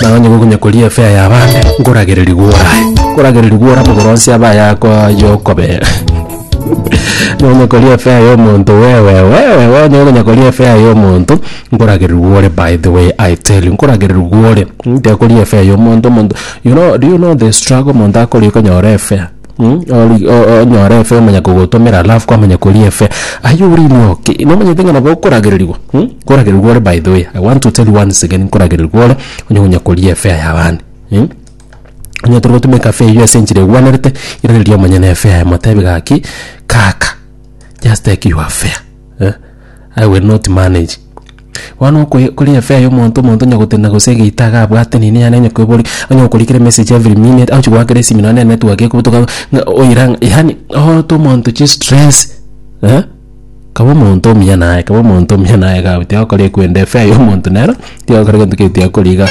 Naye onye gokonya koria efare ya abande, nkoragererigwe orae. Nkoragererigwe ore amagoro onsi abe ayako ayokobera. Onye koria efare ya omonto wewe wewe onye gokonya koria efare ya omonto, nkoragererigwe ore by the way I tell you, nkoragererigwe ore. Tiga koria efare ya omonto omonto you know do you know the struggle omonto akoria konyora efare? Ori onyore efare omanya kogotomera alafu kwamanya koria efare, are you really okay? Nomanyete ng'a nabo okoragererigwa? Nkoragererigwa ore by the way, I want to tell you once again nkoragererigwa ore onye konya koria efare ya abande. Onye tori gotumeka efare eywo ase enchera egwenerete, iraneria omonyene efare yaye motebi gaki, kaka just take your fare eh, I will not manage. Bono okoe koria efare ya omonto, omonto onye gotenena gose egeita iga abwate nini yaani onye koeboria, onye gokorikera emessage every minute, agochi goakera esimi nonye na enetwork ekobutoka ng'a oira ng'a yaani ote omonto chistress eh, Kaba omonto omuya naye, kaba omonto omuya naye iga abwo, tiga gokora ekwenda efair ya omonto nero, tiga gokora egento keri tiga koria iga.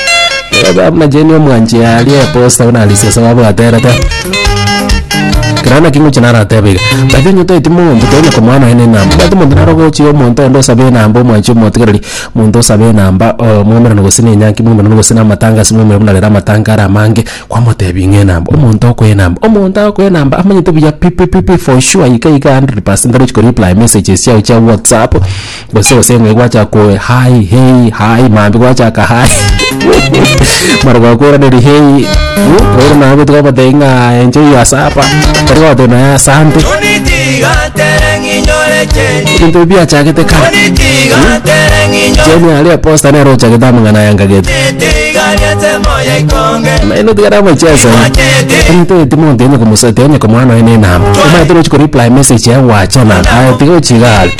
Ebe buna Jane omwanchi aria eposta buna Alice babwaterete. Ekero naki ngochia naratebe iga, by the way onye toeti monto tonya komoa nonya na enamba, omanyete omonto naro ogochia omonto onde osabe enamba omwanchi omotigereri, omonto osabe enamba mwaumerane gose na enyangi mwaumerane gose na amatanga ase mwaumerane buna rero amatanga are amange. Kwamotebia ng'a enamba, omonto okoa enamba, omonto agokoa enamba amanyete buya pi pi pi pi for sure iga iga 100% arochi ko reply messages chiago chia whatsapp, gose gose ng'ai gwachaka ko hi hey hi mambia gwachaka hi mara gwakoiraneria hey bono naye gotiga gotebia ng'a enjoy your supper, tari gotebia nonya asante. Ebinto ebi biachagete kare. Jane aria eposta nere ochagete amang'ana aya nkagete. Naende otigare amacheso onye toeti monto onye komosa onye komoa nonya na enamba. Omanyete rochi ko reply message yaye gwachana aye tiga ochiga are.